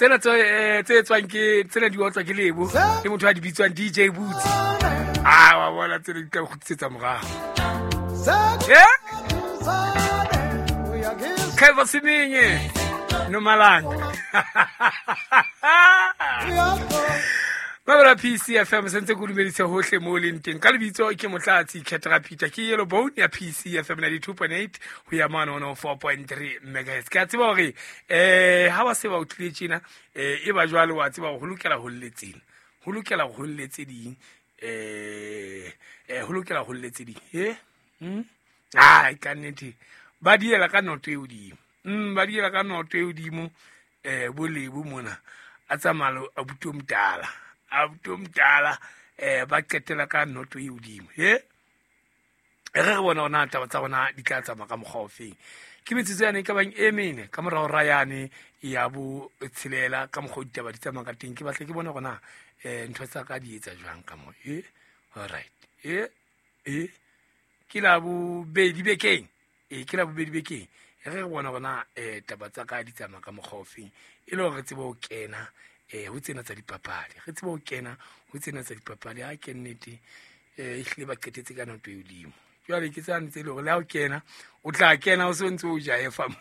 Tsena tse tswang ke tsena di otlwa ke Lebo ke motho a di bitswang DJ Boots. Ah, wa bona tsena di tla kgutlisetsa morao. Eh? Kaiva Siminye Nomalanga. Mabela PCFM sentse ke dumedise hohle mo leng teng ka lebitso ke Motlatsi Khetra Peter ke Yellow Bone ya PCFM 92.8 ho ya mane 104.3 megahertz. Ke a tseba hore ha ba se ba utlwile tjena e ba jwale wa tseba hore ho lokela ho lletseng, ho lokela ho lletse ding, ho lokela ho lletse ding. Ai ka nnete ba diela ka noto e hodimo. Ba diela ka noto e hodimo bo Lebo mona a tsamaya a buto mtala, a buto mtala ba qetela ka noto e hodimo. Re re bona ona taba tsa rona di tla tsamaya ka mokgwa ofeng. Ke metsotso yane e ka bang e mene ka morao ra yane ya bo tshelela ka mokgwa o ditaba di tsamaya ka teng. Ke batla ke bone gona ntho tsa ka di etsa jwang ka mo. All right. Ke la bobedi bekeng. Ke la bobedi bekeng. Re re bona gona taba tsa ka di tsamaya ka mokgwa ofeng e le hore re tsebe ho kena ho tsena tsa dipapadi. Re tsebe ho kena ho tsena tsa dipapadi. Ha ke nnete ehlile ba qetetse ka noto e hodimo. Jwale ke tsane tse le hore le ha o kena o tla kena o se ntse o jaefa mo.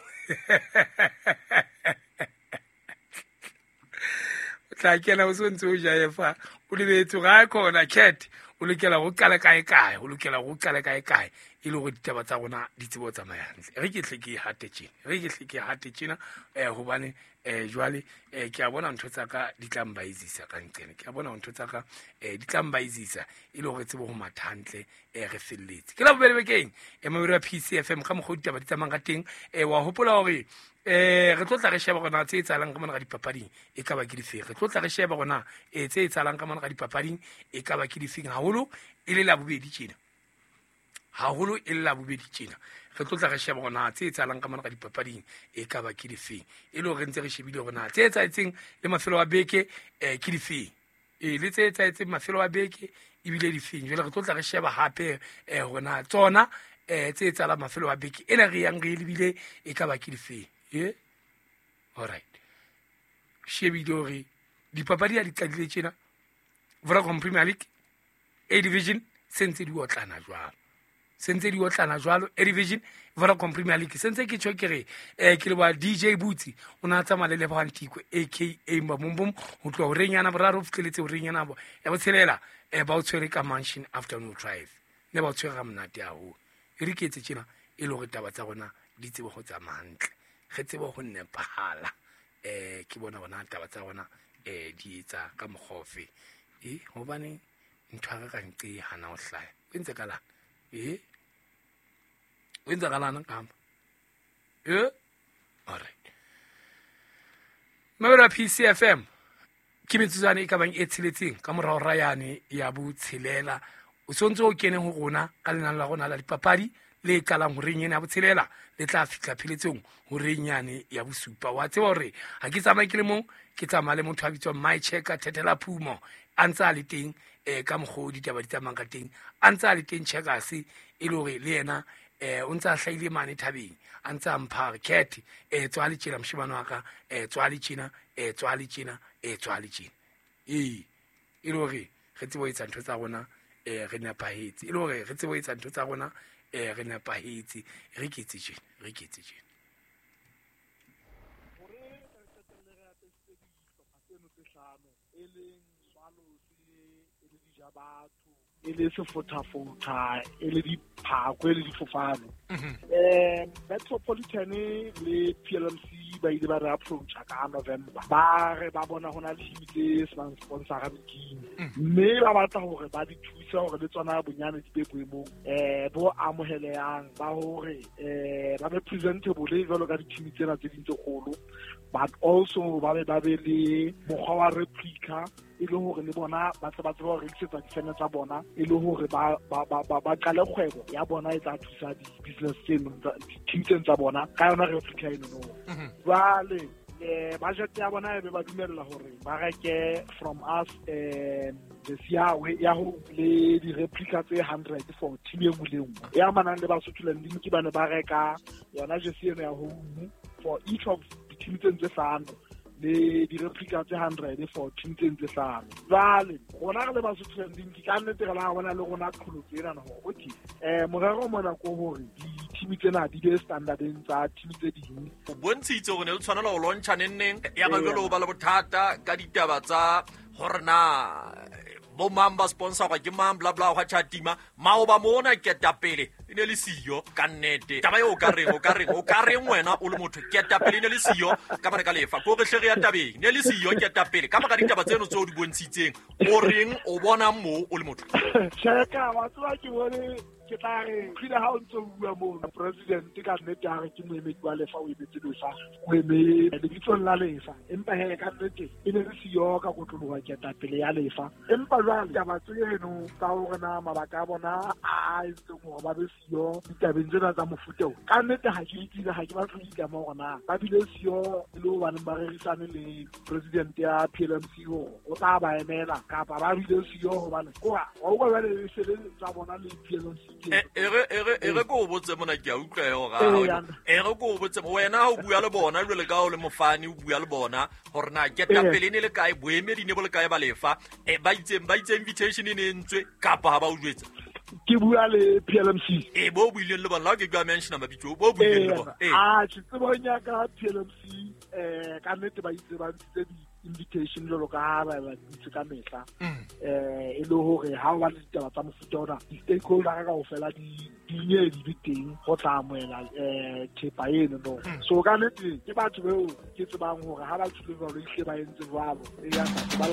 O tla kena o se ntse o jaefa o lebetse hore ha khona cat o lokela ho qala kae kae, o lokela ho qala kae kae e le hore ditaba tsa rona di tsebe ho tsamaya hantle. Re ke hle ke hate tjena, re ke hle ke hate tjena hobane jwale ke a bona ntho tsa ka di tla mbaizisa ka nqene. Ke a bona ntho tsa ka di tla mbaizisa e le hore tsebe ho matha hantle re felletse. Ke la bobedi bekeng mabedi wa PCFM ka mokgwa ditaba di tsamayang ka teng. Wa hopola hore re tlo tla re sheba hore na tse etsahalang ka mona ka dipapading e ka ba ke difeng. Re tlo tla re sheba hore na tse etsahalang ka mona ka dipapading e ka ba ke difeng, haholo e le la bobedi tjena. Haholo e le la bobedi tjena. Re tlo tla re sheba hore na tse etsahalang ka mona ka dipapading e ka ba ke difeng. E le hore re ntse re shebile hore na tse etsahetseng le mafelo a beke ke difeng. Le tse etsahetseng mafelo a beke ebile difeng. Jwale re tlo tla re sheba hape hore na tsona tse etsahalang mafelo a beke ena re yang re lebile e ka ba ke difeng. All right. Shebile hore dipapadi ha di qadile tjena Vodacom Premier League A Division se ntse di otlana jwalo. Se ntse di otlana jwalo A Division Vodacom Premier League se ntse ke tjho ke re ke le wa DJ Boots o na tsamaya le Lebohang Tiko aka Mbabumbum ho tloha horeng yana boraro ho fihleletse horeng yana ya botshelela ba o tshwere ka Mansion Afternoon Drive. Ne ba o tshwere ga monate haholo. E re ke etse tjena e le hore taba tsa rona di tsebe ho tsamaya hantle. Re tsebe ho nepahala. Ke bona bona taba tsa rona di etsa ka mokgwa ofe. Hobane ntho ya ka nqe hana ho hlaya. O entse ka lana. O entse ka lana ka hamba. All right. Mabelo a PCFM ke metsotswana e ka bang e tsheletseng ka morao ra yane ya botshelela. O sontse o kene ho rona ka lenane la rona la dipapadi le qalang horeng ena ya botshelela le tla fihla pheletsong horeng yane ya bosupa. Wa tseba hore ha ke tsamaye ke le mong, ke tsamaya le motho a bitswang My Checker Thethela Phumo a ntse a le teng ka mokgwa o ditaba di tsamayang ka teng, a ntse a le teng Checkers e le hore le yena o ntse a hlahile mane thabeng a ntse a mpha re cat tswa le tjena moshemane wa ka, tswa le tjena, tswa le tjena, tswa le tjena. E le hore re tsebe ho etsa ntho tsa rona re nepahetse, e le hore re tsebe ho etsa ntho tsa rona re nepahetse. Re ke etse tjena, re ke etse tjena. Hore re qetelle re atlehisitse dihlopha tseno tse hlano, e leng Swallows, e le Dijabatho, e le Sefothafotha, e le Diphako, e le Difofane. Metropolitan le PLMC ba ile ba re approacha ka November. Ba re ba bona hona le team tse senang sponsor league. Mme ba batla hore ba di thuse hore le tsona bonyane di be boemong bo amohelehang ba hore ba be presentable jwalo ka di-team tsena tse ding tse kgolo, but also ba be le mokgwa wa replica e le hore le bona ba tle ba tsebe ho rekisetsa difene tsa bona, e le hore ba qale kgwebo ya bona e tla thusa di-business tseno, di-team tseno tsa bona ka yona replica eno no. Jwale budget ya bona e be ba dumella hore ba reke from us the ya ho le di-replica tse 100 for team e nngwe le nngwe e amanang le Basotho Landing. Ke bane ba reka yona jersey eno ya home for each of di-team tseno tse hlano. Le di-replica tse 100 for team tse ntse hlano. Jwale rona re le Basotho Landing ke ka nnete re la bona le rona qholotso ena hore okay morero mona ko hore di-team tsena di be standardeng tsa team tse ding. O bontshitse hore ne le tshwanela ho launcha neng ya ba jwale o ba le bothata ka ditaba tsa hore na bo mang ba sponsorwa ke mang bla bla hwa tjhatima maoba mona ketapele e ne le siyo ka nnete. Taba eo o ka reng wena o le motho ketapele e ne le siyo ka mane ka lefa ko re hle re ya tabeng ne le siyo ketapele ka maka ditaba tseno tseo di bontshitseng o reng o bona mo o le motho. Tjheka wa tseba ke bone ke tla re tlile ha o ntse o bua moo president ka nnete a re ke moemedi wa lefa o emetse lefa o eme lebitsong la lefa empa he ka nnete e ne le siyo ka kotloloha ketapele ya lefa empa jwale taba tseno tsa hore na mabaka a bona a entseng hore ba be siyo ditabeng tsena tsa mofuta o ka nnete ha ke itsile ha ke batle ho itlama hore na ba bile siyo e le hobaneng ba rerisane le president ya PLMC hore o tla ba emela kapa ba bile siyo hobane koa wa utlwa jwale e se le tsa bona le PLMC. E re ko botse mona ke a utlwa hore e re ko botse wena o bua le bona jwale ka o le mofani o bua le bona hore na ketapele ne le kae boemedi ne bo le kae ba lefa ba itse invitation e ne entswe kapa ha ba o jwetsa. Ke bua le PLMC bo buileng le bona ke bua mention mabitso bo buileng le bona a tse tsebong ya ka PLMC ka nnete ba itse ba ntse invitation jwalo ka ha ba ntse ka mehla e le hore ha o ba le ditaba tsa mofuta ona di-stakeholder kaofela di nye di be teng go tla amohela thepa eno no. So ka nnete ke batho beo ke tsebang hore ha ba tshwile jwalo ehlile ba entse jwalo e ya ba